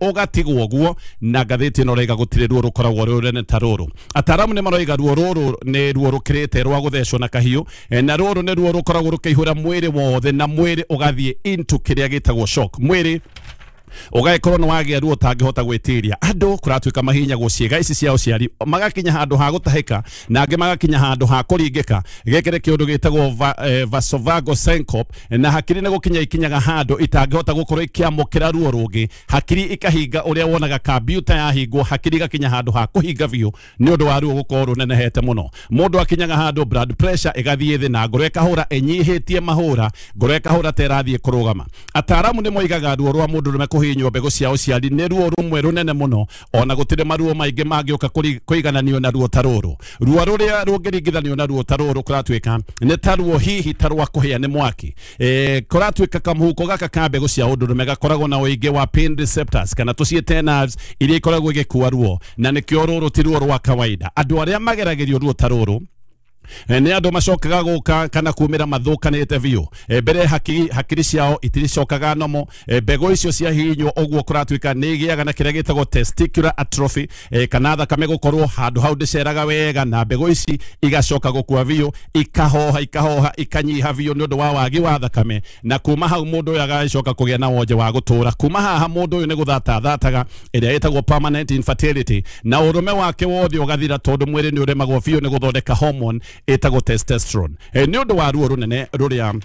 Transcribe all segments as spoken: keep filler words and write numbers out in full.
Ũgatigwo ũguo na ngathĩti ĩno raiga gũtirĩ ruo rũkoragwo rwĩ rũnene ta rũrũ. Ataaramu nĩ maroiga ruo rũrũ nĩ ruo rũkĩrĩte rwa gũthecwo na kahiũ, na rũrũ nĩ ruo rũkoragwo rũkĩihũra mwĩrĩ wothe na mwĩrĩ ũgathiĩ into kĩrĩa gĩtagwo shock. Mwĩrĩ ũgagĩkorwo nĩ wagĩa ruo ũtangĩhota gwĩtiria. Andũ kũratuĩka mahihinyagwo ciĩga ici cia ũciari, magakinya handũ ha gũtahĩka na angĩ magakinya handũ ha kũringĩka. Gĩkĩ nĩ kĩũndũ gĩtagwo va, eh, vasovagal syncope, na hakiri nĩ gũkinya ikinyaga handũ itangĩhota gũkorwo ikĩamũkĩra ruo rũngĩ. Hakiri ikahinga ũrĩa wonaga kambiuta yahingwo, hakiri igakinya handũ ha kũhinga biũ nĩ ũndũ wa ruo gũkorwo rũnenehete mũno. Mũndũ akinyaga handũ blood pressure ĩgathiĩ thĩ na ngoro ĩkahũra ĩnyihĩtie mahũra, ngoro ĩkahũra ta ĩrathiĩ kũrũgama. Ataaramu nĩ moigaga ruo rwa mũndũ rũme kũhihinywo mbegũ cia ũciari nĩ ruo rũmwe rũnene mũno, ona gũtirĩ maruo maingĩ mangĩũka kũigananio na ruo ta rũrũ. Ruo rũrĩa rũngĩringithanio na ruo ta rũrũ kũratuĩka nĩ ta ruo hihi ta rwa kũhĩa nĩ mwaki. E, kũratuĩka kamũhuko gaka ka mbegũ cia ũndũrũme gakoragwo na ũingĩ wa pain receptors kana tũciĩte nerves iria ikoragwo igĩkua ruo, na nĩkĩo rũrũ ti ruo rwa kawaida. Andũ arĩa mageragĩrio ruo ta rũrũ nĩ andũ macokaga gũka kana kumĩra mathũkanĩte biũ. Mbere hakiri, hakiri ciao itiricokaga nomo. Mbegũ icio ciahihinywo ũguo kũratuĩka nĩ igĩaga na kĩrĩa gĩtagwo testicular atrophy, kana thakame gũkorwo handũ hau ndĩceraga wega, na mbegũ ici igacoka gũkua biũ, ikahoha ikahoha ikanyiha biũ nĩ ũndũ wa wagi wa thakame, na kuma hau mũndũ ũyũ agacoka kũgĩa na wonje wa gũtũra. Kuma haha mũndũ ũyũ nĩ gũthata thataga, ĩrĩa ĩtagwo permanent infertility, na ũrũme wake wothe ũgathira tondũ mwĩrĩ nĩ ũremagwo biũ nĩ gũthondeka hormone ĩtagwo testosterone. E, nĩ ũndũ wa ruo rũnene rũrĩa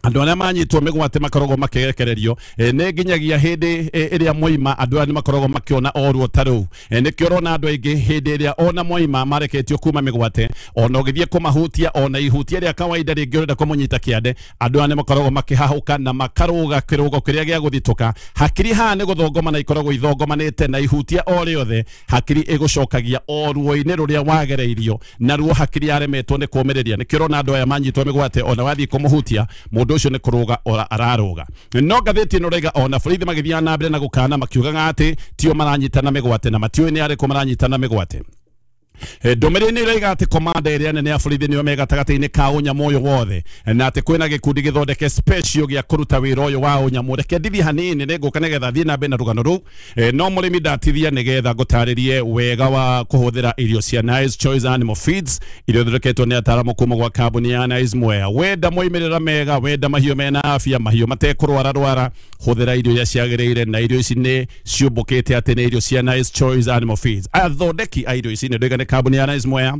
andũ arĩa manyitwo mĩgwate makoragwo makĩrekererio, e, nĩ nginyagia hĩndĩ ĩrĩa moima andũ aya nĩ makoragwo makĩona o ruo ta rũu. E, nĩkĩo ũrona andũ aingĩ hĩndĩ ĩrĩa ona moima mareketio kuma mĩgwate, ona ũgĩthiĩ kũmahutia ona ihutia rĩa kawaida rĩngĩ ũrenda kũmũnyita kĩande, andũ aya nĩ makoragwo makĩhahũka na makarũga kĩrũgo kĩrĩa gĩa gũthitũka. Hakiri haha nĩ gũthongomana ikoragwo ithongomanĩte, na ihutia o rĩothe hakiri ĩgũcokagia o ruo-inĩ rũrĩa wagereirio, na ruo hakiri yaremetwo nĩ kũũmĩrĩria. Nĩkĩo ũrona andũ aya manyitwo mĩgwate ona wathiĩ kũmũhutia mũndũ ũcio nĩ kũrũga ora ararũga. No ngathĩti ĩno raiga ona borithi magĩthiaga na mbere na gũkana makiugaga atĩ tio maranyitana mĩgwate na matiũĩ nĩ arĩkũ maranyitana mĩgwate. Ndũmĩrĩri nĩ ĩroiga atĩ komanda ĩrĩa nene ya borithi nĩyo me gatagatĩ-inĩ ka ũnyamũ ũyũ wothe, na atĩ kwĩna gĩkundi gĩthondeke special gĩa kũruta wĩra ũyũ wa ũnyamũ. Reke ndithie hanini nĩ ngũka nĩgetha thiĩ na mbere na rũgano rũu, no mũrĩmi ndatithia nĩgetha ngũtarĩrie wega wa kũhũthĩra irio cia Nice Choice Animal Feeds iria ithondeketwo nĩ ataaramu kuma gwa kambuni ya Nice Mwea. Wenda moimĩrĩra mega, wenda mahiũ mena afya, mahiũ matekũrwara rwara, hũthĩra irio iria ciagĩrĩire, na irio ici nĩ ciũmbũkĩte atĩ nĩ irio cia Nice Choice Animal Feeds. Athondeki a irio ici nĩ ndoiga nĩ kambuni ya Nice Mwea.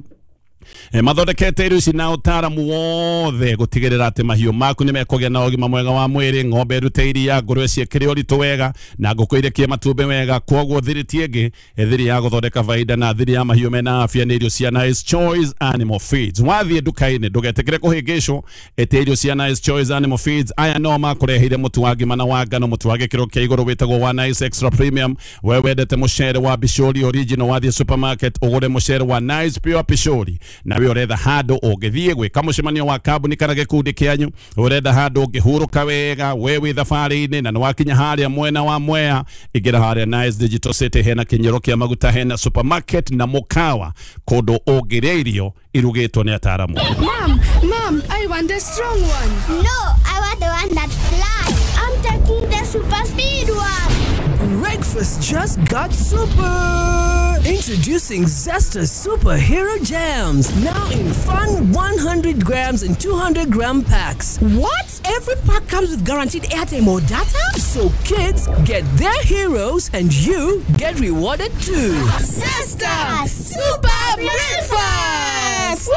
E, mathondekete irio ici na ũtaaramu wothe gũtigĩrĩra atĩ mahiũ maku nĩ mekũgĩa na ũgima mwega wa mwĩrĩ, ng'ombe ĩrute iria, ngũrwe ciĩkĩre ũritũ wega, na ngũkũ irekie matumbĩ wega. Kwoguo thiri ti ĩngĩ, thiri ya gũthondeka baida na thiri ya mahiũ mena afya nĩ irio cia Nice Choice Animal Feeds. Wathiĩ nduka-inĩ ndũgetĩkĩre kũhĩngĩcwo, ĩte irio cia Nice Choice Animal Feeds. Aya no makũreheire mũtu wa ngima na wa ngano, mũtu wa gĩkĩro kĩa igũrũ wĩtagwo wa Nice Extra Premium. We wendete mũcere wa Bishori Original, wathiĩ supermarket ũgũre mũcere wa Nice Pure Bishori. Nawe ũretha handũ ũngĩthiĩ gwĩka mũcemanio wa kambuni kana gĩkundi kĩanyu, ũrenda handũ ũngĩhurũka wega, we wĩ thabarĩ-inĩ na nĩwakinya harĩa mwena wa Mwea, ingĩra harĩa Nice Digital City, hena kĩnyero kĩa maguta, hena supermarket na mũkawa, kũndũ ũngĩrĩa irio irugĩtwo nĩ ataaramu. Mom, mom, I want the strong one. No, I want the one that flies. I'm taking the super speed one. Breakfast just got super! Introducing Zesta Superhero Jams, now in fun one hundred grams and two hundred gram packs. What? Every pack comes with guaranteed airtime or data? So kids get their heroes and you get rewarded too. Zesta Super Breakfast!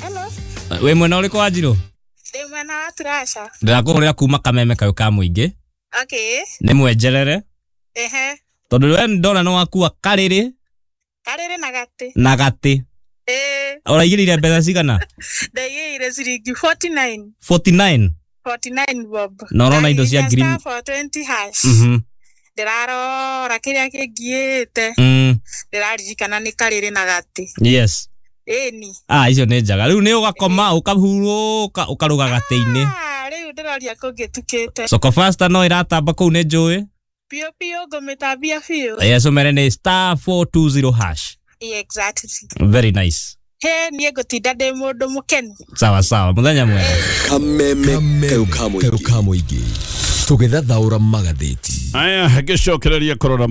Hello. Wĩ mwena ũrĩkũ wa Njirũ? Ndĩ mwena wa Turasha. Ndĩrakũhũrĩra kuma Kameme kayũ ka mũingĩ. Okay. Nĩ mwenjerere. Ehe. Tondũ we ndona nĩ wakua karĩrĩ. Karĩrĩ na gatĩ. Na gatĩ. Eh. Ũraigĩrĩire mbeca cigana? Ndaigĩrĩire ciringi forty-nine. forty-nine? forty-nine bob. Na ũrona indo cia ngiri four twenty hash. Mhm. Ndĩrarora kĩrĩa kĩngiĩte. Mm. Ndĩraririkana nĩ karĩrĩ na gatĩ. Yes. Ĩni. Ah, icio nĩ njega. Rĩu nĩ ũgakoma ũkahurũka ũkarũga gatĩ-inĩ. Ah, rĩu ndĩroria kũngĩtukĩte. Soko Fasta no ĩratamba kũu nĩ njũĩ. Biũ biũ ngũmĩtambia biũ. Yes, ũmere nĩ star four two zero hash. Yeah, exactly. Very nice. He, niĩ ngũtinda ndĩ mũndũ mũkenu. Sawa sawa, mũthenya mwega. Kameme kayũ ka mũingĩ. Tũgĩthathaũra magathĩti. Aya, ngĩcokereria kũrora.